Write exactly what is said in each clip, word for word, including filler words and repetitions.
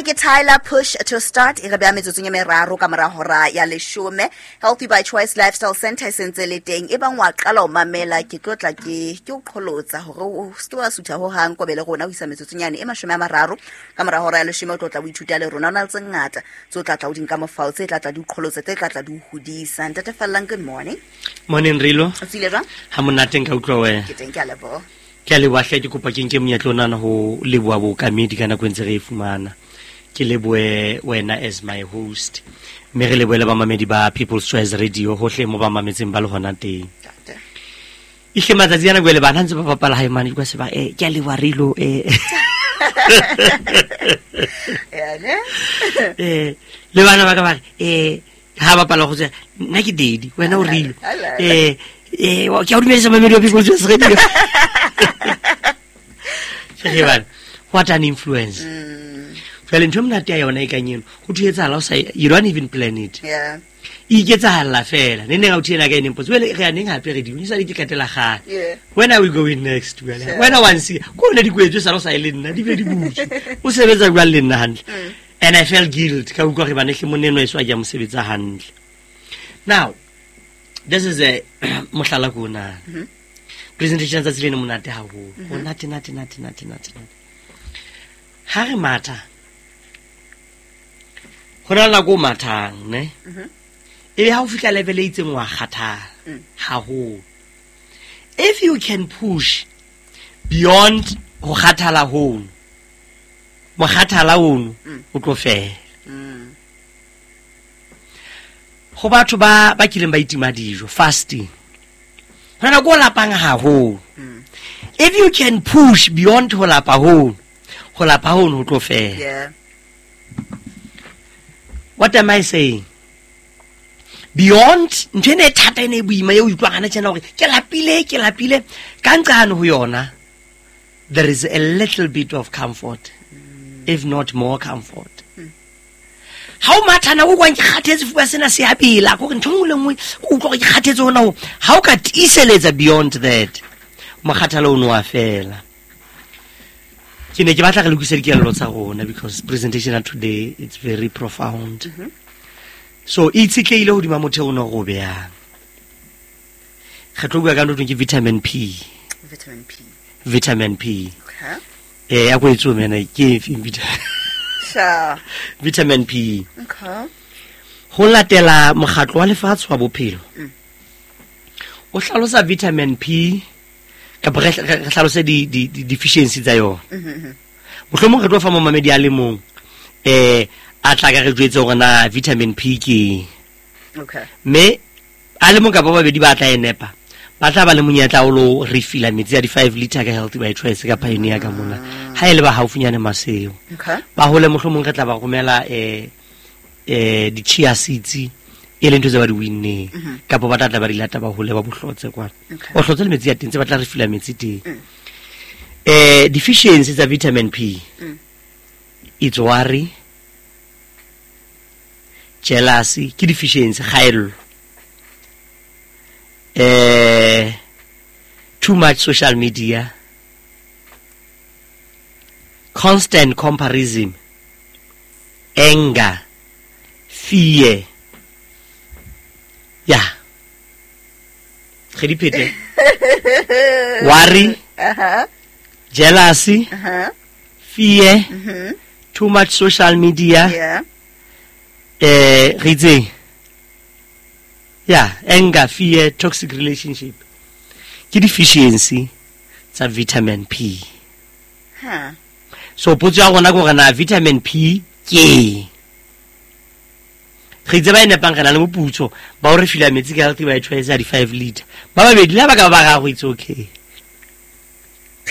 Yona ke Tyler Push to Start e re beha metsotsong e meraro ka mora hora ya leshome. Healthy by Choice Lifestyle Center e sentse le teng. E bang wa qala ho mamela ke tlo tla ke ke o qholotsa hore o se ke wa sutha ho hang kobe le rona ho isa metsotsong yane e mashome a mararo ka mora hora ya leshome o tlo tla o ithuta le rona. O na le tse ngata tse o tla tla o di nka mofao tse tla tla di o qholotsa tse tla tla di o hodisa. Ntate Fallang, good morning. Morning Rilo. O tsile jwang? Ha monate nka utlwa wena. Ke teng, ke a leboha. Ke a leboha hle, ke kopa ke nke monyetla onana ho leboha bookamedi ka nako e ntse re e fumana. Ke lebohe wena as my host. Mme re lebohe le bamamedi ba People's Choice Radio hohle mo ba mametseng ba le hona teng. Ntate. Ehle matsatsi ana jwale bana ntse ba bapala hae mane, ke se ba eh ke a leboha Rilo eh. Ya ne? Eh le bana ba ka ba re eh ha bapala go tswa nna ke daddy wena o Rilo. Ala. Eh eh ke a o dumedisa mamedi wa People's Choice Radio. Ke bana, what an influence. Mm. Jwale ntho e monate ya yona e kang eno, ho thwe etsahala o sa, you don't even plan it. Yeah. E iketsahalla fela. Ne neng a o thena ka ene mpotse, jwale re ya neng hape radio? Ne sale ke qetela kgale. Yeah. When are we going next? Jwale? Sure. When I want see, ko hona di kwetswe sala o sa e le nna, di be di butswe. O sebetsa jwang le nna hantle? Mm. And I felt guilt ka utlwa hore bana hle monna enwa e so a ke a mo sebetsa hantle. Now, this is a mohlala ko ona. Mm-hmm. Presentation tsatsi lena monate haholo. Mm-hmm. Monate, nate, nate, nate, nate, nate. Ha re matha, ho na le nako o mathang, ne? Mm-hmm. Ebe ha o fihla level e itseng wa kgathala Mm. haholo. If you can push beyond ho kgathala hono, mokgathala ono Mm. o tlo fela. Mm. Ho batho ba ba kileng ba itima dijo, fasting, ho na nako o lapang haholo. Mm. If you can push beyond ho lapa hono, ho lapa hono ho tlo fela. Yeah. What am I saying? Beyond ntho ena e thata ena e boima eo o utlwang hana tjena hore ke lapile, ke lapile, ka nqane ho yona, there is a little bit of comfort, if not more comfort. Ha o matha nako o kwang ke kgathetse fuwa sena se a bela, kore ntho e nngwe le nngwe o utlwa hore ke kgathetse hona ho. Ha o ka tiiseletsa beyond that, mokgathala ono wa fela. Ke ne ke batla re lokise dikelello tsa rona because presentation of today it's very profound. Mm-hmm. So e itshetlehile hodima motheo ona o re o behang. Re tlo bua ka ntho e thweng ke vitamin P. Vitamin P. Vitamin P. Okay. Eh, ya ko e tswe mena ke efeng vitamin? Sure. Vitamin P. Okay. Ho latela mokgatlo wa lefatshe wa bophelo. Mm. O hlalosa vitamin P kapa re, re, re hlalose di, di, di deficiency tsa yona. Mm-hmm. Mohlomong re tlo fa momamedi a le mong, eh, a tla ka re jwetse hore na vitamin P ke eng. Okay. Mme a le mong kapa ba babedi ba tla e nepa, ba tla ba le monyetla o lo refilla metsi a di five liter ka Healthy by Choice ka Pioneer ka mona. Ha e le ba haufinyane Maseo. Okay. Ba hole mohlomong re tla ba romela, eh, eh, di chia seeds e leng ntho tse ba di winneng. Mm-hmm. Kapa ba tla tla ba di lata ba hole ba bohlotse kwana. Okay. O hlotse le metsi a teng tse ba tla refilla metsi teng. Mm. Eh, deficiency tsa vitamin P. Mm. It's worry, jealousy, ke deficiency, kgaello. Eh, too much social media, constant comparison, anger, fear. Yeah. Re di phete. Worry, Uh-huh. jealousy, Uh-huh. fear, Mm-hmm. too much social media. Yeah. Eh, re itseng? Yeah, anger, fear, toxic relationship. Ke deficiency tsa vitamin P. Huh. So potso ya rona ke hore na vitamin P ke eng? Re itse ba e nepang re na le moputso ba o re fila metsi ka Healthy by Choice ya di five liter. Ba babedi le ha ba ka ba bararo, it's okay. P.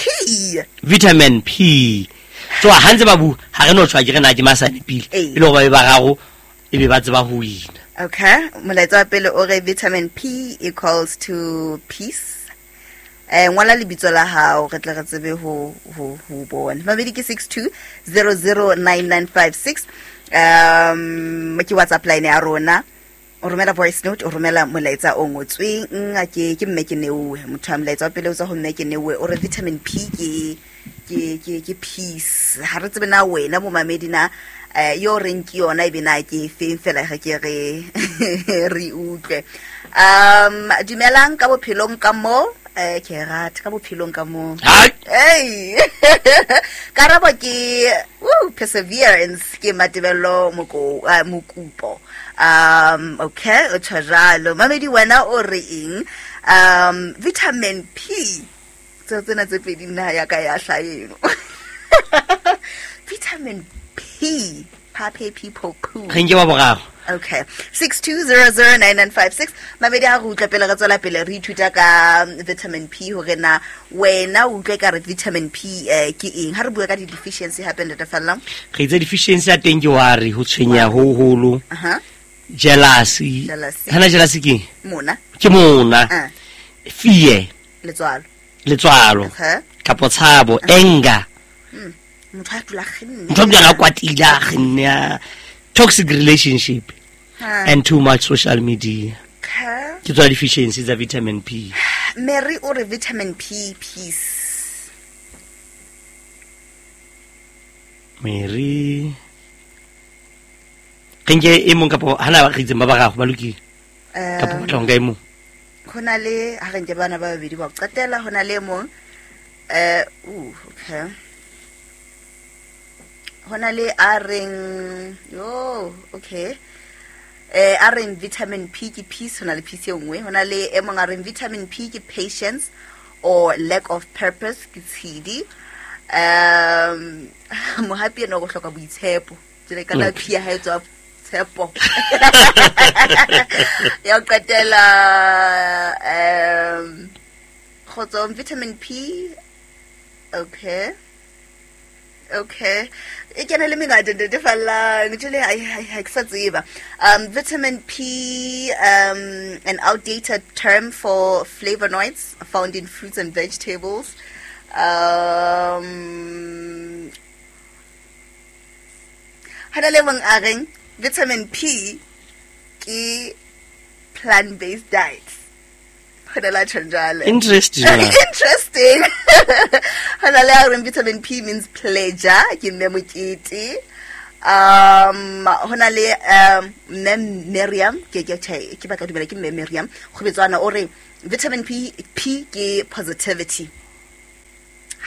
Vitamin P. So ha ntse ba bua, ha re no tshwa ke re na ke masane pele. Ee. E le hore ba be bararo e be ba tseba ho wina. Okay. Molaetsa wa pele o re vitamin P equals to peace. Eh, ngola lebitso la hao re tle re tsebe ho, ho, ho bona. Mabedi ke six two zero zero nine nine five six. Um, ke WhatsApp line ya rona. O romela voice note, o romela molaetsa o ngotsweng, ke ke mme ke neuwe. Motho a molaetsa wa pele o tswa ho mme ke neuwe, o re vitamin P ke ke ke ke peace. Ha re tsebe na wena momamedi na eh yo reng ke yona ebe na ke feng fela ge ke re re utlwe. Um dumelang ka bophelong ka mo eh ke rata ka bophelong ka mo. Hey. Karabo ke woo perseverance ke Matebello moko uh, mokupo. Um okay, o tshwajalo. Mamedi wena o re eng? Um vitamin P tse tsena tse pedi nna ya ka ya hlaeno. Vitamin P, pape people poo. Re nke wa boraro. Okay. six two zero zero nine nine five six. Mamedi ha re utlwa pele re tswela pele re ithuta ka vitamin P hore na wena o utlwe ka re vitamin P eh, ke eng. Ha re bua ka di deficiency hape ntate Falla. Re itse deficiency ya teng ke wa re ho tshwenya ho holo. Aha. Jealousy. Jealousy. Hana jealousy ke? Mona. Ke mona. Uh. Fear. Letswalo. Letswalo. Okay. Kapo tshabo, anger. Mm. Motho a dula kgenne. Motho a dula kwatile a kgenne. Toxic relationship. Ha. And too much social media. Okay. Ke tswa deficiency tsa vitamin P. Mary o re vitamin P peace. Mary re nke e mong kapo hana ba re itseng ba bararo ba lokile. Eh, Kapo batla ho nka e mong. Ho na le ha re nke bana ba babedi ba qetela, ho na le e mong eh uh okay. Ho na le a reng yo okay. Eh a reng vitamin P ke peace, ho na le peace e nngwe. Ho na le e mong a reng vitamin P ke patience or lack of purpose ke tshidi. Um mohapi ena o hloka boitshepo. Jwale ka la P ya hae tswa tshepo. Ya qetela um kgotso vitamin P. Okay. Okay. E kena le mengata ntate Falla, jwale ai ha ke sa tseba. Um vitamin P, um an outdated term for flavonoids found in fruits and vegetables. Um hana le mong a reng vitamin P ke plant-based diet. Hona la tjhanjale. Interesting. Interesting. Hona le a reng vitamin P means pleasure, ke mme mokete. Um hona le um mme Miriam, ke ke ke ba ka dumela ke mme Miriam, kgobetswana o re vitamin P P ke positivity.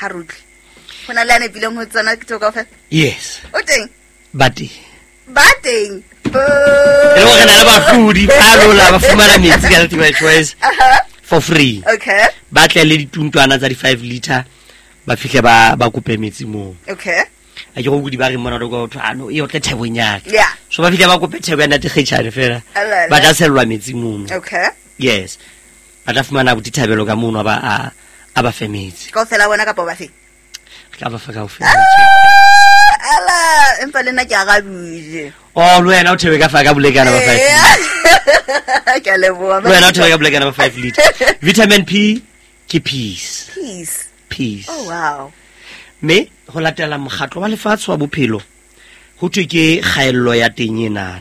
Ha re utlwe. Hona le a nepileng ho tsena ke tlo kaofela? Yes. O teng? Ba teng. Ba teng. E le hore na le bahlodi ba lola ba fumana metsi ka Healthy by Choice for free. Okay. Ba tle le dituntwana tsa di five liter ba fihle ba ba kope metsi moo. Okay. A ke go kudi ba re mona go thwa ano e otle thebong ya ka. Yeah. So ba fihle ba kope thebo ya ntate Kgetjhane fela. Alala. Ba tla sellwa metsi mono. Okay. Yes. Ba tla fumana botithabelo ka mono ba a a ba fe metsi. Kaofela bona kapa ba fe? Re tla ba fa kaofela. Ala, empa le nna ke arabile. Oh, le wena o thebe ka fa ka bolekana ba five liter. Ke a leboha. Le wena o thebe ka bolekana ba five liter. Vitamin P ke peace. Peace. Peace. Oh wow. Me ho latela mokgatlo wa lefatshe wa bophelo ho thwe ke kgaello ya teng ena.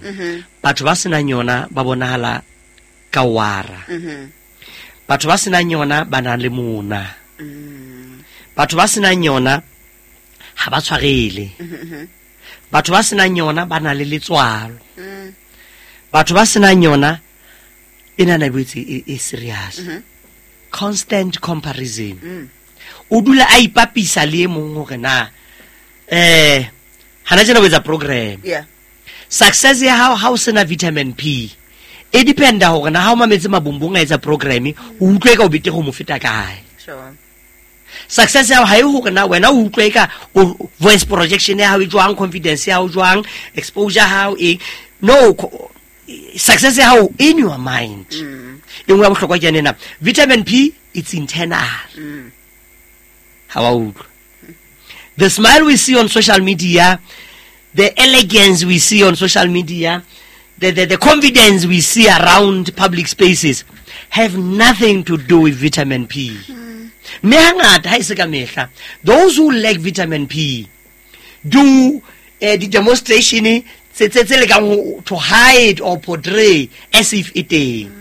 Batho ba senang yona ba bonahala ka wara. Mhm. Batho ba senang yona ba na le mona. Mm. Batho ba senang yona ha ba tshwarele. Mhm. Batho ba senang yona ba na le letswalo. Mm. Batho ba senang yona e na na boetse e, e serious. Mhm. Constant comparison. Mm. O dula a ipapisa le e mong hore na eh hana tjena o etsa program. Yeah. Success ya hao ha o sena vitamin P e dependa hore na ha o mametse mabumbung a etsa program o utlwe ka o bete go mo feta kae. Sure. Success ya hao ha e hore na wena o utlwe ka o voice projection ya hao e jwang, confidence ya hao jwang, exposure hao e no success ya hao in your mind. Mm. E nngwe ya bohlokwa ke ena, vitamin P it's internal. Mm. Ha wa utlwa. The smile we see on social media, the elegance we see on social media, the, the, the confidence we see around public spaces have nothing to do with vitamin P. Mm. Mme hangata ha e se ka mehla, those who lack vitamin P do uh, the demonstration tse tse tse lekang ho to hide or portray as if e teng.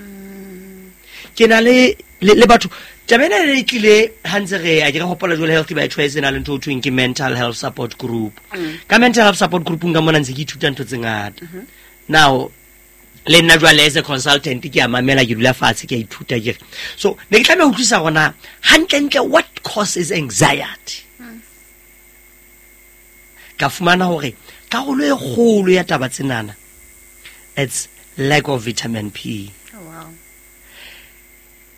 Ke na le le le batho, taba ena e tlile ha ntse re a ke re hopola jwale Healthy by Choice e na le ntho ho thweng ke mental health support group. Ka mental health support group ka mona ntse ke ithuta ntho tse ngata. Now le nna jwale as a consultant ke a mamela, ke dula fatshe, ke a ithuta, ke re so ne ke tlameha ho utlwisisa hore na hantlentle what causes anxiety. Ka fumana hore karolo e kgolo ya taba tsenana, it's lack of vitamin P. Oh, wow.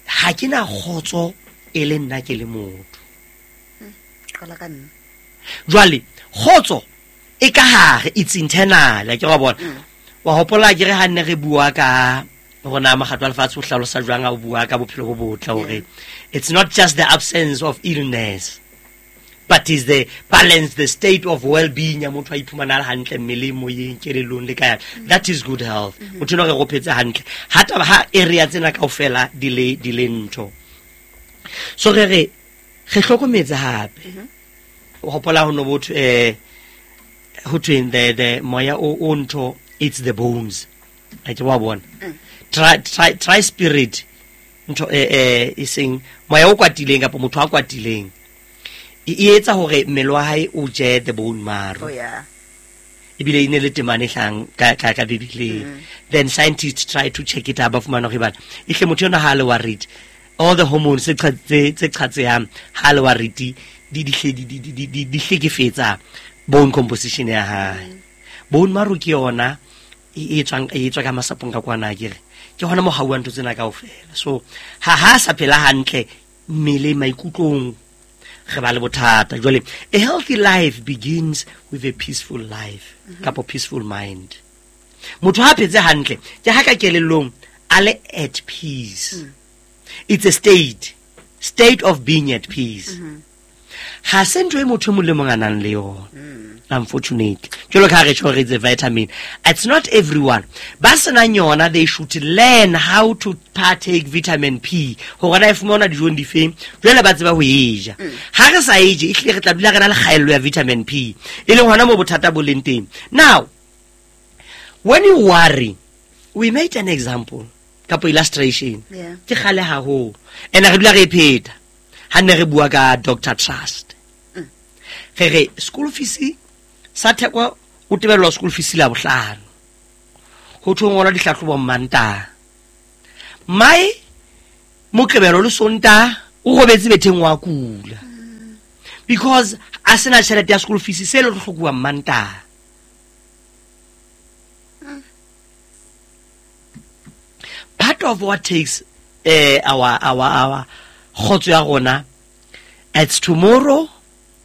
Ha ke na kgotso e le nna ke le motho. Qala ka nna. Jwale kgotso e ka hare, it's internal, ke wa bona. Wa hopola ke re ha nne re bua ka rona mokgatlo wa lefatshe o hlalosa jwang ha o bua ka bophelo bo botle, hore it's not just the absence of illness, but is the balance, the state of well-being ya motho a iphumana a le hantle mmeleng, moyeng, kelellong le ka yang. That is good health. Motho enwa re go phetse hantle ha taba ha area tsena kaofela di le, di le ntho. So re re re hlokometse hape. O hopola ho no botho, eh, ho thweng the, the moya o, o ntho, it's the bones. A ke wa bona. Try, try, try spirit ntho, eh, eh, e seng moya o kwatileng kapa motho a kwatileng. E, e etsa hore mmele wa hae o je the bone marrow. Oh, yeah. Ebile e ne le temane e hlahang ka, ka, ka Bibeleng. Mm. Then scientists try to check it out, ba fumana hore bana, ehle motho enwa ha a le worried, all the hormones tse qha-, tse, tse qhatsehang ha a le worried, di, di hle, di, di, di, di, di, di hlekefetsa bone composition ya hae. Mm. Bone marrow ke yona e, e tswang, e tswa ka masapong ka kwana, akere. Ke hona mo hauwang ntho tsena kaofela. So ha, ha sa phela hantle mmele maikutlong, re ba le bothata. Jwale a healthy life begins with a peaceful life, Mm-hmm. kapa peaceful mind. Motho ha phetse hantle ke ha ka kelellong a le at peace. Mm. It's a state, state of being at peace. Mm-hmm. Ha se ntho e motho e mong le mong a nang le yona. Mm. Unfortunately, jwalo ka ha re tjho re it's a vitamin, it's not everyone ba senang yona. They should learn how to partake vitamin P, hore na e fumana dijong difeng, jwale ba tseba ho e ja. Mm. Ha re sa e je, ehlile re tla dula re na le kgaello ya vitamin P, e leng hona moo bothata bo leng teng. Now when you worry, we made an example kapo illustration. Yeah. Ke kgale haholo, and re dula re e pheta ha nne re bua ka Doctor Trust. Mm. Re re school fees sa Theko o tebellwa school fees la bohlano, ho thwe ngolwa dihlahlobo Mantaha, mai Moqebelo le Sontaha o robetse betheng wa kula, because a sena tjhelete ya school fees se le hlokuwa Mantaha. Part of what takes, eh, our, our, our kgotso ya rona, it's tomorrow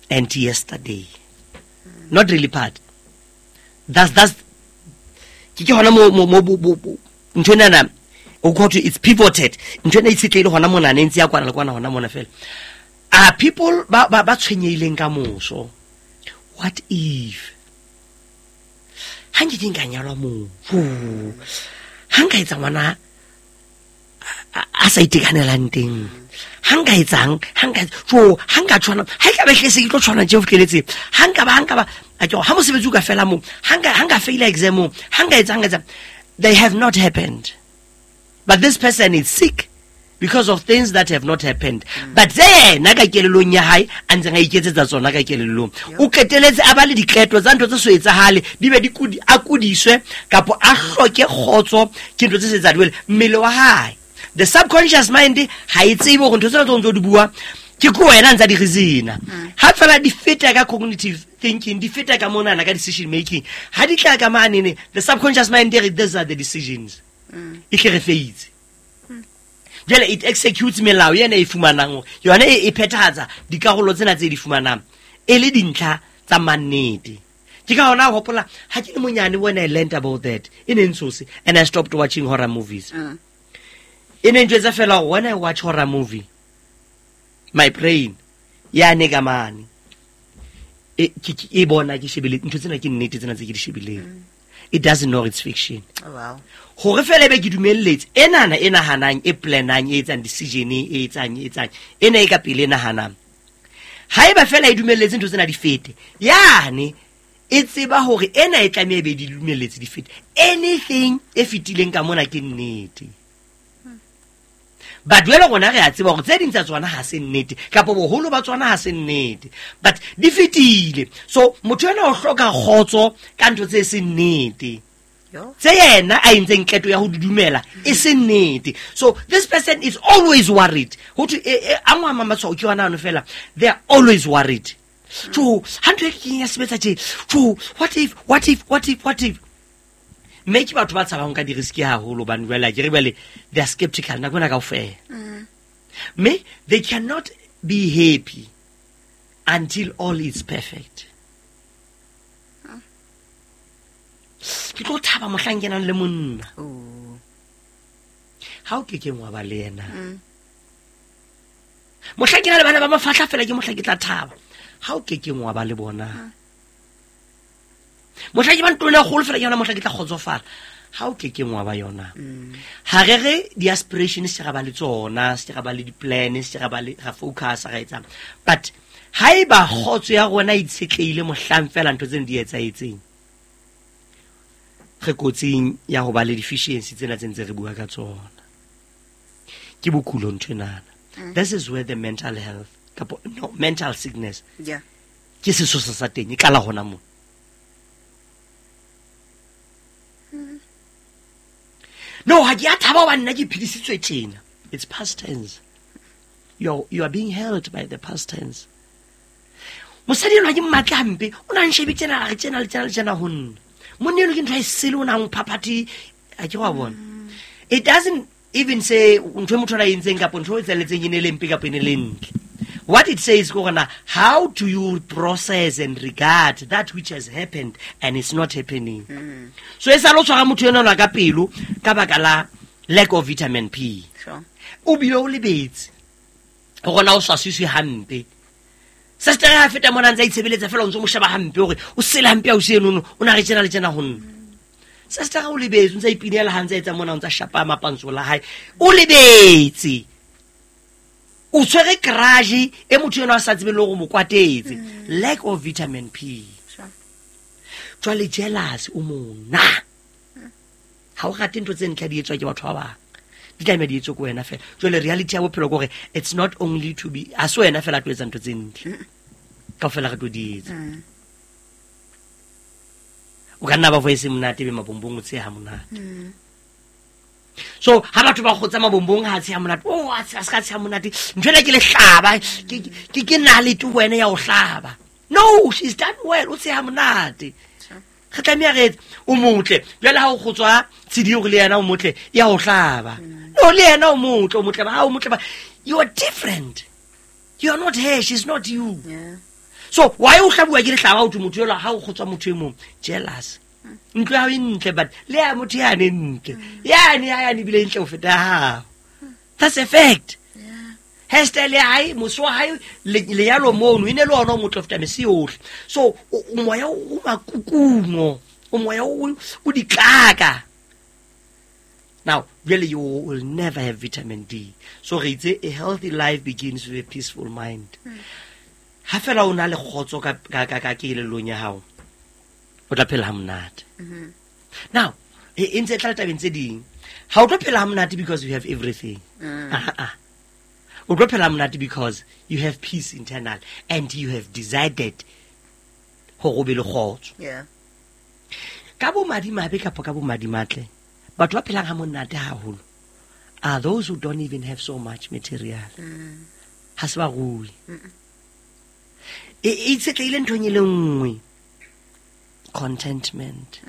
and yesterday. Not really part. That's, that's ke ke hona mo, mo, mo, bo, bo, bo, ntho enana, o go thwe it's pivoted. Ntho ena e itshetlehile hona mona, ne ntse ya kwana le kwana hona mona fela. Are people ba, ba, ba tshwenyehileng ka moso? What if ha nke ke nka nyalwa moo? Ho, ha nka etsa ngwana a, a, a sa itekanelang teng, ha nka etsang, ha nka etsa, jo, ha nka tshwana, ha e ka ba ehlile se ke tlo tshwana tje ho fihleletse, ha nka ba, ha nka ba, a ke hore ha mosebetsi o ka fela moo, ha nka, ha nka faila exam moo, ha nka etsa, ha nka etsa, they have not happened. But this person is sick because of things that have not happened. Mm. But yena ka kelellong ya hae, a ntseng a iketsetsa tsona ka kelellong. Yep. O qeteletse a ba le diqeto tsa ntho tse so etsahale, di be di kudi, a kudiswe kapa a hloke kgotso ke ntho tse se etsa jwale. Mmele wa hae, the subconscious mind ha e tsebe hore ntho tsena tse o ntso di bua ke ko wena ntsa di reason-a. Mm. Ha fela di feta ka cognitive thinking, di feta ka monana ka decision making, ha di tla ka manene, the subconscious mind e re these are the decisions. Mm. E hle re feitse. Jwale it executes melao ena e fumanang hore yona e, e phethahatsa dikarolo tsena tse di fumanang e le dintlha tsa mannete. Ke ka hona ho hopola ha ke le monyane when I learned about that, e ne ntshose, and I stopped watching horror movies. Mm. E ne ntjwetsa fela hore when I watch horror movie, my brain ya ne ka mane e, ke, ke, e bona ke shebile ntho tsena ke nnete tsena tse ke di shebileng. Mm. It doesn't know it's fiction. Oh, wow. Hore fela ebe ke dumelletse enana e nahanang, e planang, e etsang decision, e etsang, e etsang, ena e ka pele e nahanang. Haeba fela e dumelletse ntho tsena di fete, yane E tseba hore ena e tlameha be di lumelletse di fete. Anything e fetileng ka mona ke nnete. But jwale rona re a tseba hore tse ding tsa tsona ha se nnete, kapa boholo ba tsona ha se nnete, but di fetile. So motho ena o hloka kgotso ka ntho tse seng nnete, tse yena a entseng qeto ya ho di dumela e se nnete. So this person is always worried. Ho thwe a ngwa matshwao ke yona ano fela, they are always worried. So ha ntho e ke ya sebetsa tje, so what if, what if, what if, what if. Mme ke batho ba tshabang ka di-risk haholo, hobane jwale akere jwale they are skeptical nako ena kaofela. Mme they cannot be happy until all is perfect. Ke tlo thaba mohlang ke nang le monna. Ha o ke keng wa ba le yena. Mohlang ke na le bana ba mafahla fela ke mohlang ke tla thaba. Ha o ke keng wa ba le bona. Mohlang ke ba ntlong e kgolo fela ke yona mohlang ke tla kgotsofala. Ha o ke keng wa ba yona. Ha re re di-aspiration se ra ba le tsona, se ra ba le di-plan, se ra ba le ra focus ra etsang. But haeba kgotso ya rona e itshetlehile mohlang fela ntho tseno di etsahetseng, re kotsing ya ho ba le deficiency tsena tse ntse re bua ka tsona. Ke bokulo ntho enana. This is where the mental health kapo no mental sickness, yeah, ke sesosa sa teng e qala hona moo. No, ha ke a thaba hobane nna ke phedisitswe tjena. It's past tense. You you are being held by the past tense. Mosadi enwa ke mmatla hampe, o na nshebe tjena, a re tjena le tjena le tjena ho nna. Monna eno ke ntho e sele, o na mphaphathi, a ke wa bona. It doesn't even say ntho e motho a entseng kapa ntho e tselletseng e ne le mpe kapa e ne le ntle. What it says ke hore na, how do you process and regard that which has happened and is not happening? Mm. So e sa lo tshwara motho enwa ka pelo ka baka la lack of vitamin P. Sure. O bile o lebetse hore na o swasiswe hampe. Sister ha feta mona ntse a itshebeletsa fela o ntse o mo sheba hampe hore o sele hampe ha o se enono, o na re tjena le tjena ho nna. Sister o lebetse, o ntse a ipinela ha ntse a etsa mona, o ntse a shapa mapantso la hae. O lebetse. O tshwere garage e motho eno a sa tsebeng le hore o mo kwatetse. Lack of vitamin P. Sure. Jwale jealous o mona. Ha o rate ntho tse ntle di etswa ke batho ba bang. Di tlameha di etswe ke wena fela. Jwale reality ya bophelo ke hore it's not only to be, ha se wena fela a tlo etsa ntho tse ntle. Kaofela re tlo di etsa. O ka nna ba voice monate be mabombong o tsheha monate. So ha batho ba kgotsa mabombong ha tsheha monate, oh a se ka tsheha monate, ntho ena ke le hlaba, ke ke ke na le tu wena ya o hlaba. No, she's done well, o tsheha monate. Re tlameha re etse, o motle. Jwale ha o kgotswa tshedi hore le yena o motle, ya o hlaba. No, le yena o motle, o motle ba, ha o motle ba. You are different. You are not her, she's not you. Yeah. So why o hlabuwa ke lehlaba o thwe motho ela ha o kgotswa motho e mong? Jealous. Ntlo ya hao e ntle, but le ya motho yane e ntle. Yane ya yane ebile e ntle ho feta hao. That's a fact. Yeah. Hairstyle ya hae, mose wa hae, lenyalo mono, e ne le ona o motle ho feta mese yohle. So o moya o makukuno, o moya o o ditlaka. Now, really, you will never have vitamin D. So re itse, a healthy life begins with a peaceful mind. Ha fela o na le kgotso ka ka ka ka kelellong ya hao, o tla phela ha monate. Now, e ntse e tla tabeng tse ding. Ha o tlo phela ha monate because you have everything. Ah, ah. O tlo phela ha monate because you have peace internal and you have decided hore o be le kgotso. Yeah. Ka bo madimabe kapa ka bo madimatle, batho ba phelang ha monate haholo are those who don't even have so much material. Ha se ba rui. E itshetlehile nthong e le nngwe, contentment.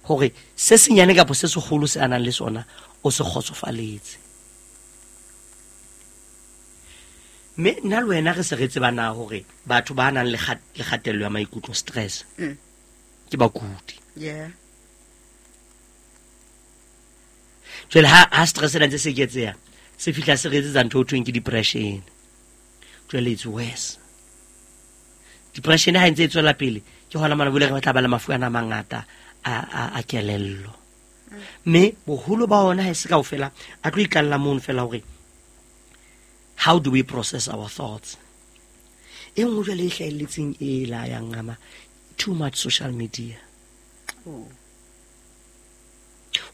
Hore se senyane kapa se seholo se a nang le sona o se kgotsofaletse. Mme nna le wena re se re tseba na hore batho ba nang le kgatello ya maikutlo, stress, ke bakudi. Yeah. Jwale ha ha stress ena ntse se eketseha, se fihla se re etsetsa ntho ho thweng ke depression. Jwale it's worse. Depression ha e ntse e tswela pele, ke hona mona bole re tla ba le mafu ana a mangata a a a kelello. Mme boholo ba ona ha e se kaofela, a tlo ikalla mono fela hore how do we process our thoughts. E nngwe jwale e hlahelletseng e la ya ngama, Too much social media. Oh.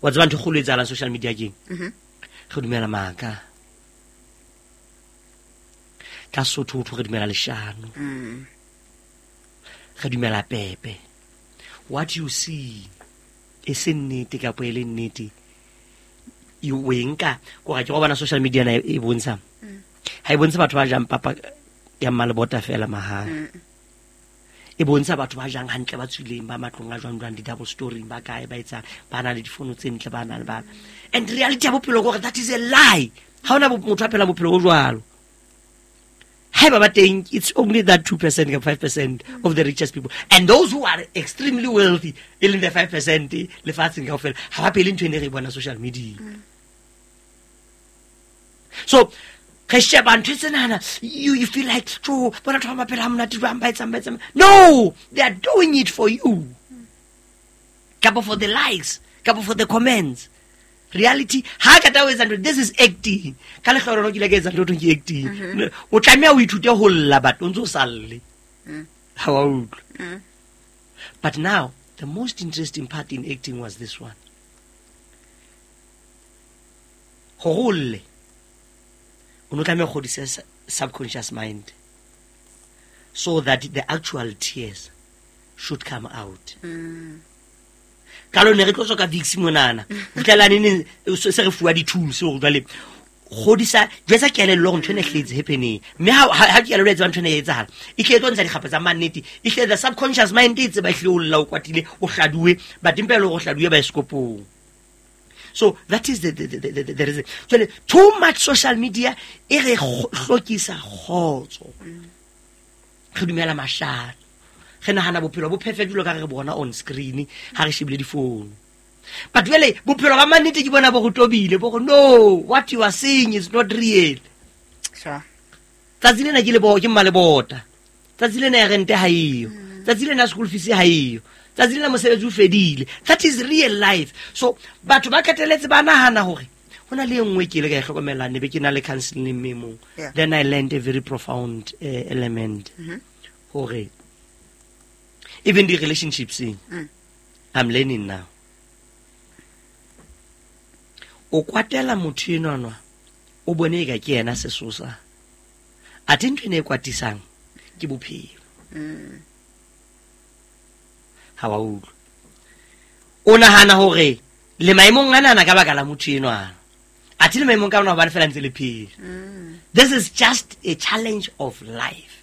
Wa tseba ntho e kgolo e etsahalang social media keng? Mhm. Re dumela maka. Ka Sotho ho re dumela leshano. Mm. Re dumela pepe. What you see e se nnete kapa e le nnete. E o e nka kore ke go bona social media na e bontsha. Ha e bontshe batho ba jang papa ya mmalebota fela mahala. E bontsha batho ba jang hantle ba tswileng ba matlong a jwang jwang di-double story ba kae ba etsang ba na le difono tse ntle ba na le ba. And reality ya bophelo ke hore that is a lie. Ha hona motho a phelang bophelo bo jwalo. Haeba ba teng, it's only that two percent or five percent of the richest people. And those who are extremely wealthy, e leng the five percent lefatsheng kaofela, ha ba phele ntho ene re e bona social media. So, re sheba ntho tsenana, you, you feel like, jo, bona batho ba maphelo a monate jwang, ba etsang, ba etsang. No, they are doing it for you. Kapa for the likes, kapa for the comments. Reality, ha ka taba etsa ntho, this is acting. Ka lehlohonolo ke ile ka etsa ntho ke acting. Mm-hmm. O tlameha o ithute ho lla but o ntso sa lle. Mm. Ha wa utlwa. Mm. But now, the most interesting part in acting was this one. Hore o lle, o no tlameha ho kgodisa subconscious mind so that the actual tears should come out. Mm. Ka lone re tlo tswa ka Vicks monana. Ho tla neng se re fuwa di-tools hore jwale kgodisa jwetsa kelello hore ntho ena e hletse happening. Mme ha, ha, ha kelello e tseba ntho ena e etsahala, e tle e tlo ntsha dikgapha tsa mannete. E tle the subconscious mind e tseba e hle o lla o kwatile, o hladuwe, but empa e le hore o hladuwe baesekopong. So that is the, the, the, the, the, the reason. Jwale too much social media e re hlokisa kgotso. Re dumela mashano. Re nahana bophelo bo perfect jwalo ka re bona on screen ha re shebile difounu. But jwale bophelo ba mannete ke bona bo go tobile, bo go no, what you are seeing is not real. Sure. Tsatsi lena ke le bo ke mmalebota. Tsatsi lena ya rente ha eyo. Tsatsi lena school fees ha eyo. Tsatsi lena mosebetsi o fedile. That is real life. So batho ba qetelletse ba nahana hore hona le e nngwe ke ile ka e hlokomela ne be ke na le counseling mme mong. Yeah. Then I learned a very profound, uh, element. Mm-hmm. Hore even the relationships, mm. I'm learning now. O kwatela motho enwa, o bone eka ke yena sesosa. Athe ntho ena e kwatisang ke bophelo. Mm. Ha wa utlwa. O nahana hore le maemong ana ka baka la motho enwa. Athe le maemong ka ona hobane fela ntse le phela. Mm. This is just a challenge of life.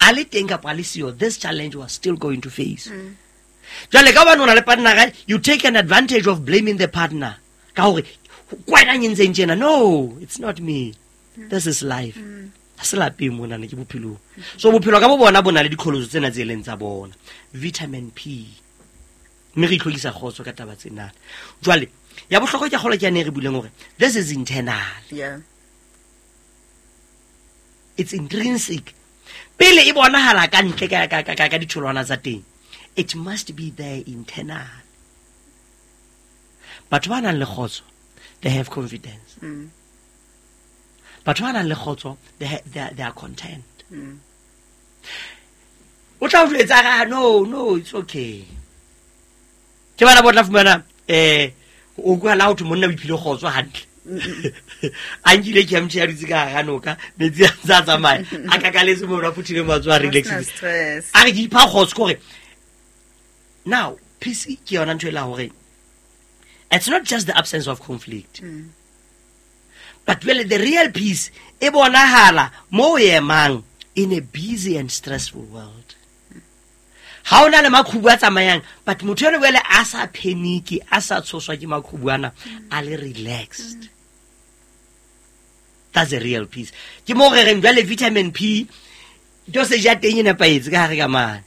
A le teng kapa a le siyo, this challenge was still going to face. Mm. Jwale ka hobane o na le partner, you take an advantage of blaming the partner. Ka hore, kwena e ntseng tjena. No, it's not me. Mm. This is life. Mm. Ha se lapeng mona, ne ke bophelong. So bophelo ka bo bona bo na le diqholotso tsena tse leng tsa bona. Vitamin P. Mme re itlhokisa kgotso ka taba tsena. Jwale, ya bohlokwa ke kgolo ke yane e re buileng hore this is internal. Yeah. It's intrinsic. Pele e bonahala ka ntle ka, ka, ka, ka, ka ditholwana tsa teng. It must be there internal. Batho ba nang le kgotso, they have confidence. Mm. Batho ba nang le kgotso, they ha-, they are, they are content. Mm. O tla o jwetsa ka, no, no, it's okay. Ke bana ba tla fumana, eh, o kwa la ho thwe monna o iphile kgotso hantle. A nkile ke a motjha ya dutse ka hara noka, metsi a ntse a tsamaya. A kakaletse moo, a phuthile matsoho, a relaxile. Ho sena stress. A re ke ipha kgotso ke hore now peace ke yona ntho e la hore it's not just the absence of conflict. Mm. But really the real peace e bonahala mo o emang in a busy and stressful world. Ha ona le maqhubu a tsamayang, but motho eno wele a sa panic, a sa tshoswa ke maqhubu ana, a le relaxed. Mm. That's a real peace. Ke mo re reng jwale vitamin P dosage ya teng e nepahetse ka hare ka mane.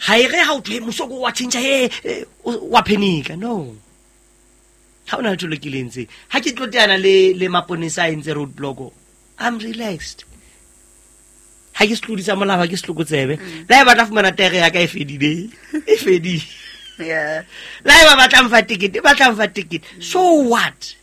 Ha e re ha o thwe mosoko wa tjhentjha, he, he, wa panic. No. Ha ona letho le ke le entseng. Ha ke tlo teana le, le maponesa a entse roadblock, I'm relaxed. Ha ke setlodi sa molao, ha ke setlokotsebe. Mm. Le ha e batla fumana tere ya ka e fedile, e fedile. Yeah. Le ha e ba batla mfa ticket, ba tla mfa ticket. So what?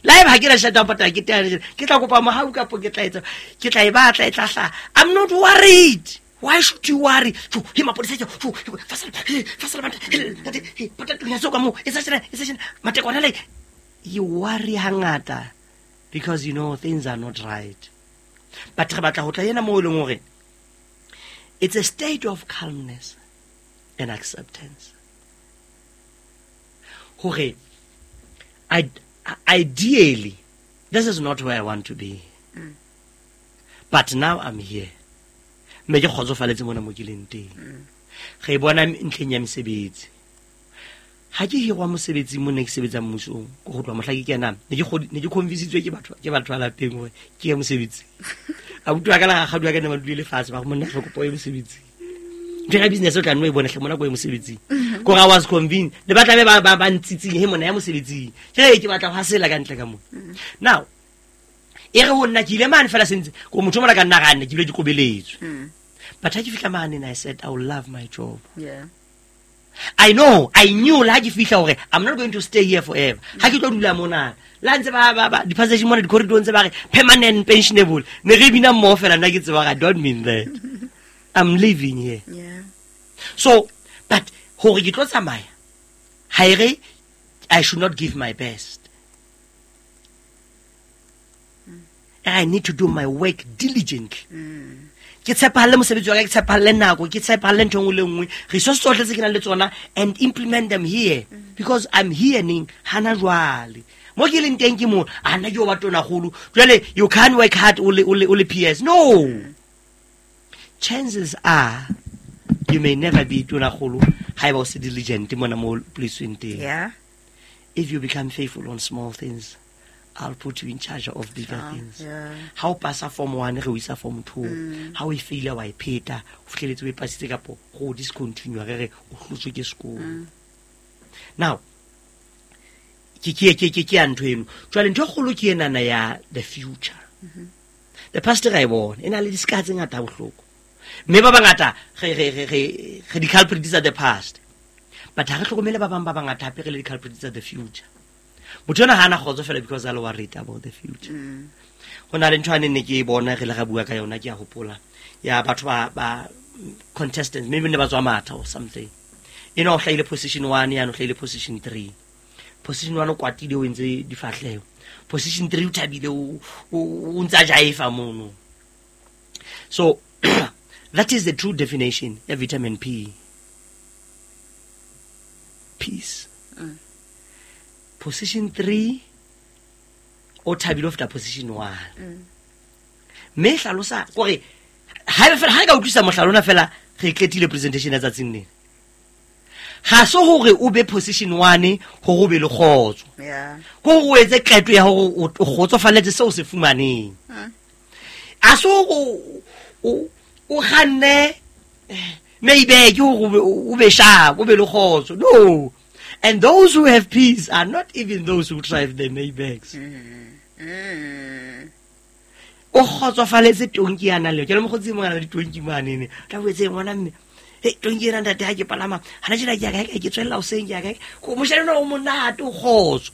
Le ha eba ha ke na tjhelete ya ho patala, ke tla, ke tla kopa mohau kapo ke tla etsa, ke tla e batla, e tla hlaha. I'm not worried. Why should you worry? He mapodisa tjo fasala fasala banta he patatu ya soka mo e sa tjena e sa tjena matekwana le you worry hangata because you know things are not right. But re batla ho tla yena mo e leng hore it's a state of calmness and acceptance. Hore I ideally this is not where I want to be. Mm. But now I'm here. Mme ke kgotsofaletse mona mo ke leng teng. Re bona ntlheng ya mesebetsi. Ha ke hirwa mosebetsi mo ne ke sebetsa mmusong, go go tloha mohla ke kenang, ne ke ne ke convincitswe ke batho ke batho ba lapeng hore ke ye mosebetsi. Abuti wa ka la rakgadi wa ka ne ba dule lefatshe ba re monna re kopa o ye mosebetsing. Ntho ya business o tla nno e bona hle mona ko ye mosebetsing. Kore I was convinced. Le ba tlabe ba ba ba ntsitsing he mona ya mosebetsing. Ke ke batla ho hasela ka ntle ka mona. Now e re ho nna ke ile mane fela sentse ko motho mona ka nna ga nne ke bile ke kobeletswe. But ha ke fihla mane and I said I will love my job. Yeah. I know, I knew la ke fihla hore I'm not going to stay here forever. Ha ke tlo dula mona. La ntse ba ba ba di-passage mona di-corridor ntse ba re permanent pensionable. Ne re bina mmoho fela nna ke tseba I don't mean that. I'm living here. Yeah. So, but hore ke tlo tsamaya ha e re I should not give my best. Mm. I need to do my work diligently. Mm. Ke tshepahalle mosebetsi wa ka, ke tshepahalle nako, ke tshepahalle ntho e nngwe le nngwe. Resource tsohle tse ke nang le tsona and implement them here. Mm. Because I'm here neng hana jwale. Mo ke leng teng ke mo, a nna ke o ba tonakgolo. Jwale you can't work hard o le o le o le P S. No. Mm. Chances are you may never be tonakgolo haeba o se diligent mona mo polisweng teng. Yeah. If you become faithful on small things, I'll put you in charge of bigger oh, things. Yeah. Ha o pasa form one re o isa form two. Mm. Ha o e faila wa e pheta, o fihleletse o e pasitse kapo go discontinue re re o hlotswe ke sekolo. Mm. Now ke ke ke ke ke ya ntho eno. Jwale ntho e kgolo ke enana ya the future. Mm-hmm. The past ra e bona e na le disika tse ngata bohloko. Mme ba bangata re re re re re di-culprits tsa the past. But ha re hlokomele ba bang ba bangata hape re le di-culprits tsa the future. Motho ena ha ana kgotso fela because a le worried about the future. Mm. Ho na le ntho ane ne ke e bona re le ra bua ka yona ke a hopola ya batho ba ba contestants maybe ne ba tswa matha or something. Ena o hlahile position one ya no hlahile position three. Position one o kwatile o entse difahleho. Position three o thabile o o ntsa jaifa mono. So that is the true definition of vitamin P. Peace. Mm. Position three o thabile ho feta position one. Mm. Mme hlalosa kore ha fela ha ka utlwisa mohlalona fela re qetile presentation ya tsatsing lena. Ha so hore o be position one hore o be le kgotso. Yeah. Ko o etse qeto ya hore o kgotsofaletse seo se fumaneng. Mm. A so o o kganne maybe ke o be sharp, o be le kgotso. No. And those who have peace are not even those who drive the Maybachs. Mm. Mm. O kgotsofaletse tonki ya nang le. Ke le mokgotsi mongana le ditonki mane ne. Tla boetse ngwana mme. Hey, tonki ena ntate ha ke palama. Hana tjena ke ya kae ke tswella hoseng ke ya kae. Ko moshanyana o monate o kgotso.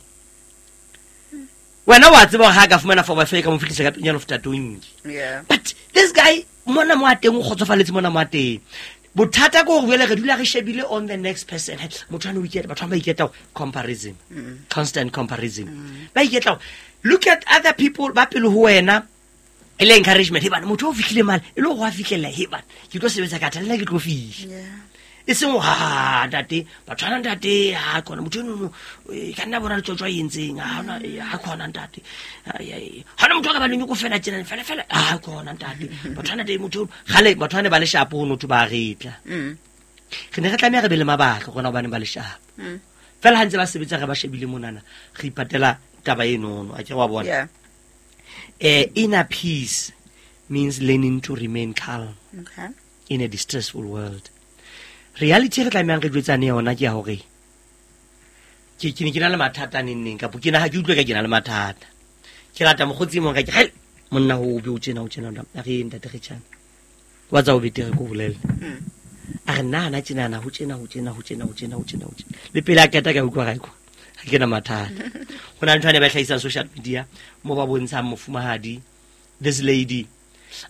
Wena wa tseba ha ka fumana four by five ka mo fihlisa ka pelenyana ho feta tonki. Yeah. But this guy mona mo a teng o kgotsofaletse mona mo a teng. Bothata ke hore jwale re dula re shebile on the next person. Motho ana o iketla, batho ba iketla comparison. Mm. Constant comparison. Mm. Ba iketla. Look at other people ba pele ho wena. E le encouragement. He bana motho o fihlile mane, e le hore a fihlella he bana. Ke tlo sebetsa ka thata le nna ke tlo fihla. Yeah. E seng ha ntate, batho ana ntate ha khona motho eno e ka nna bona letsotso a entseng ha ona ha khona ntate. Ha ona motho a ka ba le nyoko fela tjena fela fela ha khona ntate. Batho ana ntate motho gale batho ana ba le shapo ho notho ba retla. Mm. Re ne re tlameha re be le mabaka rona hobane ba le shapo. Mm. Fela ha ntse ba sebetsa re ba shebile monana re ipatela taba eno no a ke wa bona. Yeah. Eh, inner peace means learning to remain calm. Okay. In a distressful world. Reality re tlamehang re jwetsane yona ke ya hore ke ke ne ke na le mathata neng neng kapo ke na ha ke utlwe ka ke na le mathata. Ke rata mokgotsi mong ka ke hel monna ho be o tjena o tjena a re ntate re tjana. Wa tsa o betere ko bolelle. Mm. A re nna na tjena na ho tjena ho tjena ho tjena ho tjena ho tjena ho tjena. Le pele a qeta ka utlwa ga ko. Ha ke na mathata. Ho na le ntho ane ba hlahisang social media mo ba bontshang mofumahadi this lady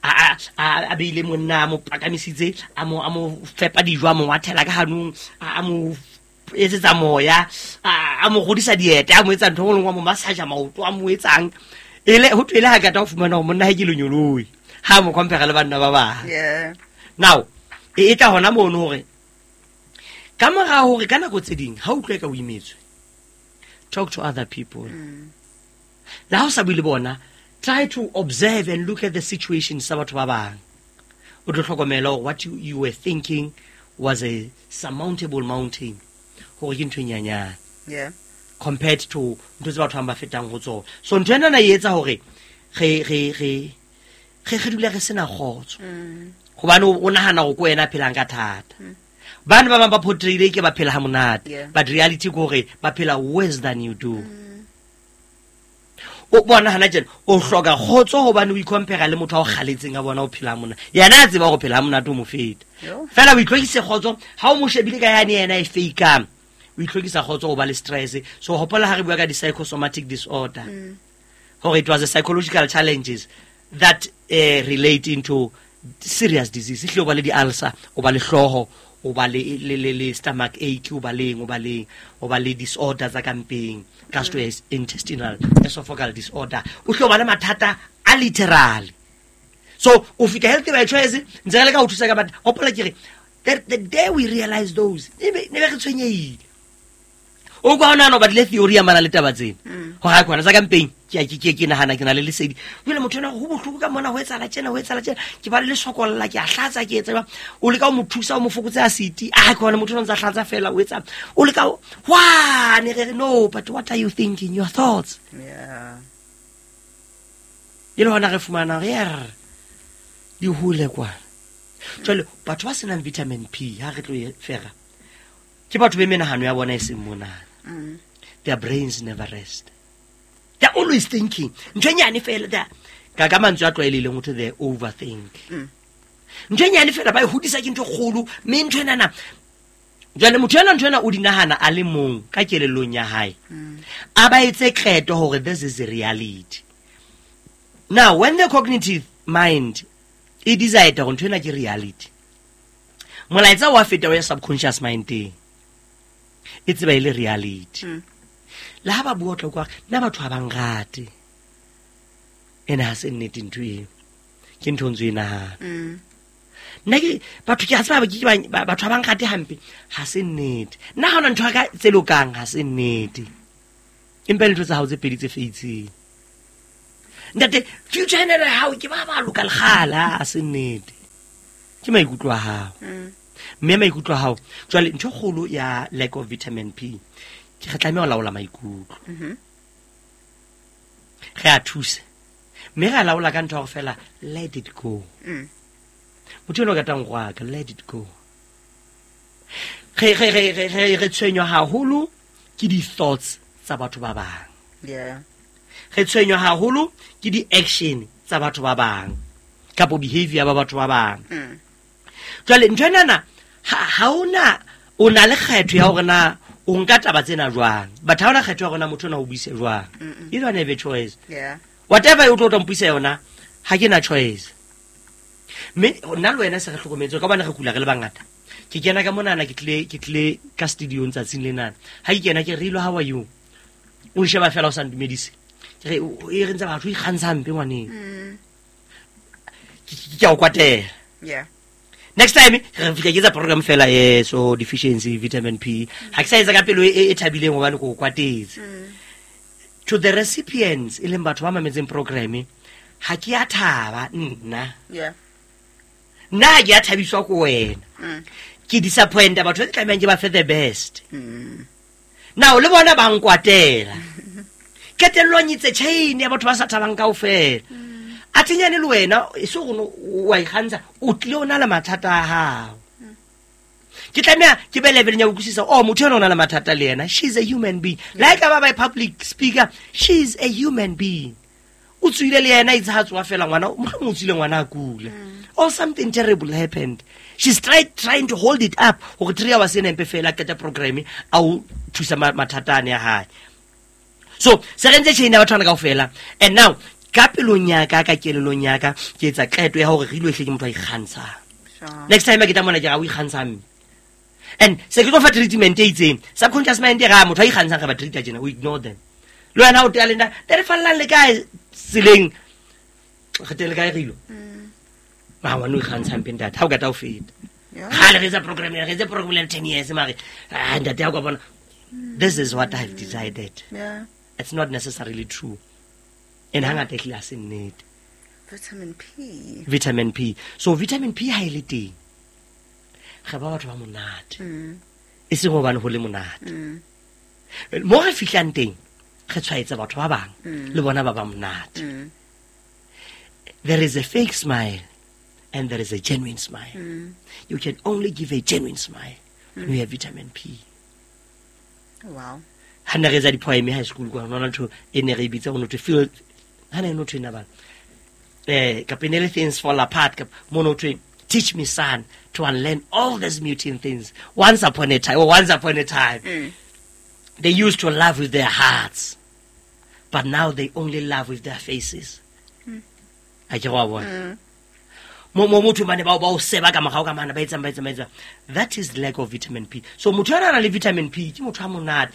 a a a beile monna a mo pakamisitse a mo a mo fepa dijo a mo wathela ka hanong a mo etsetsa moya a mo godisa dieta a mo etsa ntho e nngwe mo massage maoto a mo etsang ele ho twele ha kata ho fumana hore monna ha ke lenyoloi ha mo compare le banna ba bang. Yeah. Now e tla hona mono hore ka mora hore ka nako tse ding ha utlwe ka o imetswe, talk to other people. Mm. La ho sa bue le bona, try to observe and look at the situation sa batho ba bang. O tlo hlokomela hore what you, you were thinking was a surmountable mountain hore ke ntho e nyanyane. Yeah. Compared to ntho tse batho ba fetang ho tsona. So ntho ena e etsa hore re re re re re dule re sena kgotso. Mm. Hobane o nahana hore ko wena phelang ka thata. Mm. Bana ba bang ba portrayile ke ba phela ha monate. Yeah. But reality ke hore ba phela worse than you do. Mm. O bona hana tjena o hloka kgotso hobane o icompare le motho a o kgaletseng a bona o phela mona. Yena a tseba hore phela ha monate o mo feta. Fela o itlhokise kgotso ha o mo shebile ka yane yena e fake-ang. O itlhokisa kgotso o ba le stress. So hopola ha re bua ka di psychosomatic disorder. Mm. Hore it was a psychological challenges that uh, relate into serious disease. Ehlile o ba le di ulcer, o ba le hlooho, o ba le le le, le stomach ache, o ba leng, o ba leng, o ba le disorder tsa kampeng, gastrointestinal esophageal disorder. O hlo ba le mathata a literal. So o fika Healthy by Choice ntse re le ka ho thusa ka batho. Hopola ke re the, the day we realize those ne be ne be re tshwenyehile. O kwa ona no ba le theory ya mana le taba tsena. Ho ha kwana tsa kampeng ke ke ke ke nahana ke na le lesedi. Jwale motho ena ho bohloko ka mona ho etsahala tjena ho etsahala tjena ke ba le lesokolla ke a hlatsa ke etsa o leka ho mo thusa o mo fokotse acid a kwana motho ona ntsa hlatsa fela o etsa o leka wa ne re no but what are you thinking your thoughts? Yeah. E le hona re fumana re er di hole kwa. Jwale batho ba senang vitamin P ha re tlo e fera ke batho be menahano ya bona e seng mona. Mm. Their brains never rest. They're always thinking. Ntho e nyane fela da ka ka mantswe a tlwaelehileng ho thwe they overthink. Mm. Ntho e nyane fela ba e hodisa ke ntho e kgolo mme ntho ena na jwale motho ena ntho ena o di nahana a le mong ka kelellong ya hae. Mm. A ba etse qeto hore this is the reality. Now when the cognitive mind e decide hore ntho ena ke reality, molaetsa wa feta wa ya subconscious mind teng. E tseba e le reality. Mm. Le ha ba bua tlo kwa nna batho ha ba nrate. Ena ha se nnete ntho eo. Ke ntho ntse e nahana. Mm. Nna ke batho ke a tseba ke ba batho ha ba nrate hampe ha se nnete. Nna ha hona ntho ka tse lokang ha se nnete. Empa ntho tsa hao tse pedi tse feitseng. Ntate future ena ya hao ke ba ba loka lekgala ha se nnete. Ke maikutlo a hao. Mm. Mme maikutlo a hao jwale ntho kgolo ya lack of vitamin P ke re tlameha ho laola maikutlo. Mhm. Re a thusa. Mme re a laola ka ntho ya hore fela let it go. Mm. Motho eno o ratang go aka let it go. Re re re re re re tshwenywa haholo ke di thoughts tsa batho ba bang. Yeah. Re tshwenywa haholo ke di action tsa batho ba bang kapo behavior ba batho ba bang. Mm. Jwale ntho ena na ha ha ona o na le kgetho ya hore na o nka taba tsena jwang, but ha ona kgetho ya hore na motho ona o buise jwang. Mm-mm. You don't have a choice. Yeah. Whatever o tlo tla mpuisa yona ha ke na choice. Mme nna le wena se re hlokometse ka bana re kula re le bangata. Ke kena ka monana ke tle ke tle ka studio ntsatsing lenana. Ha ke kena ke re ilo how are you? O nsheba fela o sa ndumedise. Ke re e re ntse batho ikgantsha hampe ngwaneng. Mm. Ke ke a o kwatela. Yeah. Next time re fihla ke etsa program fela eh so deficiency vitamin P. Ha ke sa etsa ka pelo e e thabileng hobane ko kwatetse. Mm. To the recipients e leng batho ba mametseng program ha ke a thaba nna. Yeah. Nna ha ke a thabiswa ko wena. Mm. Ke disappoint batho ba tlamehang ke ba fe the best. Mm. Now le bona ba nkwatela. Qetellong itse chain ya batho ba sa thabang kaofela. Mm. A tenyane le wena e se gore wa ikgantsha o tlile o na le mathata a hao. Ke tlameha ke be level ya utlwisisa oh motho ena o na le mathata le yena, she's a human being. Like ba ba public speaker, she's a human being. O tswile le yena itse ha tswa fela ngwana mohlomong o tswile ngwana a kula. Or something terrible happened. She's tried trying to hold it up hore three hours ena empe fela qeta program a o thusa mathata ane a hae. So se re ntse chain ya batho bana kaofela. And now Ka pelong ya ka, ka kelellong ya ka, ke etsa qeto ya hore re ilo ehle ke motho a ikgantshang. Sure. Next time ke tla mona ke ra o ikgantshang. And se ke tlo fa treatment e itseng. Subconscious mind e ra motho a ikgantshang re ba treat tjena, we ignore them. Le wena o tea le nna, te re fallang le kae tseleng? Re teng le kae re ilo? Ah, ngwana o ikgantshang mpe ntate, ha o ka tla o feta. Yeah. Kgale re etsa program ena, re etse program ena ten years mare, ah, ntate ha o ka bona. This is what I've decided. Yeah. It's not necessarily true. And hangata ehlile ha se nnete. Vitamin P. Vitamin P. So vitamin P ha e le teng, re ba batho ba monate. Mm. E seng hobane ho le monate. Mm. Mo re fihlang teng, re tshwaetsa batho ba bang, Mm. le bona ba ba monate. Mm. There is a fake smile and there is a genuine smile. Mm. You can only give a genuine smile when you have vitamin P. Wow. Ha ne re etsa di-poem high school kwa, nona ntho e ne re e bitsa ho no thwe feel, ha ne no thwe na bana. Eh, kapa e ne le things fall apart, kapa mo no thwe, teach me son to unlearn all these muting things. Once upon a time, or once upon a time. Mm. They used to love with their hearts, but now they only love with their faces. Mm. A ke wa bona? Mm. Mo, mo motho mane ba o, ba o seba ka morao ka mane, ba etsang, ba etsang, ba etsang. That is lack of vitamin P. So motho ya nang le vitamin P ke motho a monate.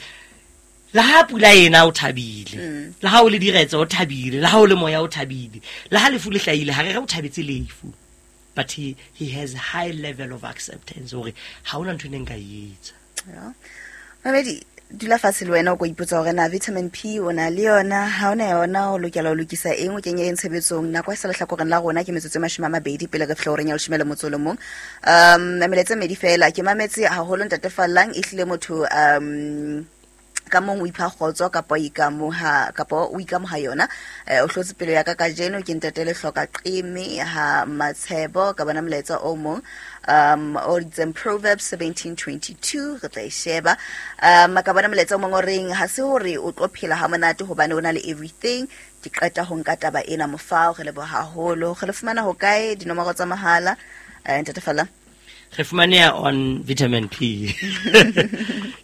Le ha pula ena o thabile. Mm. Le ha o le diretse o thabile, le ha o le moya o thabile. Le ha lefu le hlahile, ha re re o thabetse lefu. But he, he has high level of acceptance hore ha hona ntho e neng nka e etsa. Yeah. Mamedi, dula fatshe le wena o ko ipotsa hore na vitamin P o na le yona, ha o na yona o lokela ho lokisa eng, o kenye eng tshebetsong. Nako e sa lehlakoreng la rona ke metsotso e mashome a mabedi pele re fihla horeng ya leshome le motso o le mong. Um, melaetsa e mmedi feela, ke mametse haholo ntate Fallang, ehlile motho, um, ka mong o ipha kgotso kapa o ikamoha, kapa o ikamoha yona. Eh, o hlotse pelo ya ka kajeno ke ntate Lehloka Qeme ha Matshebo, ka bona molaetsa o mong, um, o itseng Proverbs seventeen twenty-two, re tla e sheba. Um, ka bona molaetsa o mong o reng ha se hore o tlo phela ha monate hobane o na le everything. Ke qeta ho nka taba ena mofao, re leboha haholo. Re le fumana hokae dinomoro tsa mahala? Eh, ntate Fallang? Re fumaneha on vitamin P.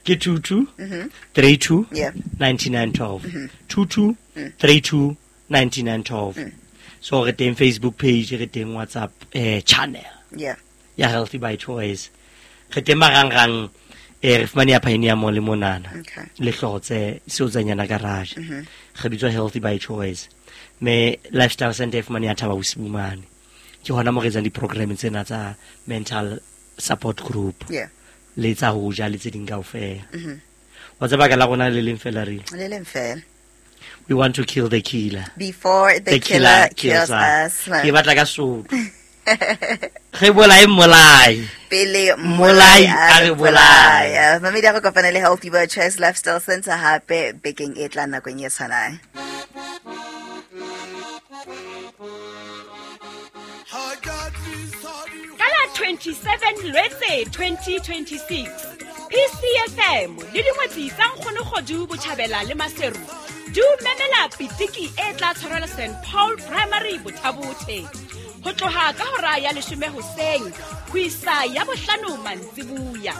Ke two two, Mm-hmm. three two, Yeah. ninety-nine twelve. Mm-hmm. Two two, Mm. three two, ninety-nine twelve. Mm. So re teng Facebook page, re teng WhatsApp, eh, channel. Yeah. Ya Healthy by Choice. Re teng marangrang, eh, re fumaneha Pioneer Mall le monana. Okay. Le Hlotse, Seotsanyana garage. Mm-hmm. Re bitswa Healthy by Choice. Me Lifestyle Center e fumaneha Thaba Bosiu mane. Ke hona mo re etsang di-program tsena tsa mental support group. Yeah. Le tsa ho ja le tse ding kaofela. Mm-hmm. Wa tseba ka la rona le leng fela re. Le leng fela. We want to kill the killer. Before the, The killer, killer kills kills us. us. Ke batla ka Sotho. Re bolae mmolai. Pele Mmolai mmolai a a re re bolaya. bolaya. Mamedi a re kopane le Healthy by Choice Lifestyle Center hape bekeng e tlang nakong e tshwanang. Ka la twenty-seven Lwetse twenty twenty-six, P C F M le dingwetsi tsa Nkgono Kgodu Botjhabela le Maseru di o memela pitiki e tla tshwarelwa Saint Paul Primary Bothabothe ho tloha ka hora ya leshome hoseng ho isa ya bohlano mantsibuya.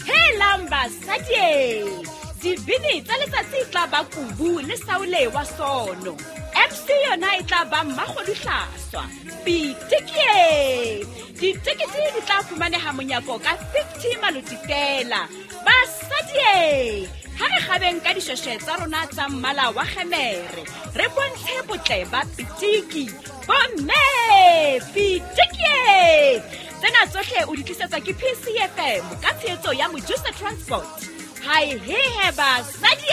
Helang basadi, dibini tsa letsatsi e tla ba Kubu le Saule wa Sono. M C yona e tla ba Mmakgodu Hlaswa. Pitiki! Ditekete di tla fumaneha monyako ka fifty maloti fela. Basadi, ha re kgabeng ka dishweshwe tsa rona tsa mmala wa kgemere, re bontshe botle ba pitiki. Bomme, pitiki! Tsena tsohle o di tlisetswa ke P C F M ka tshehetso ya Mojusa Transport. Hai he he basadi!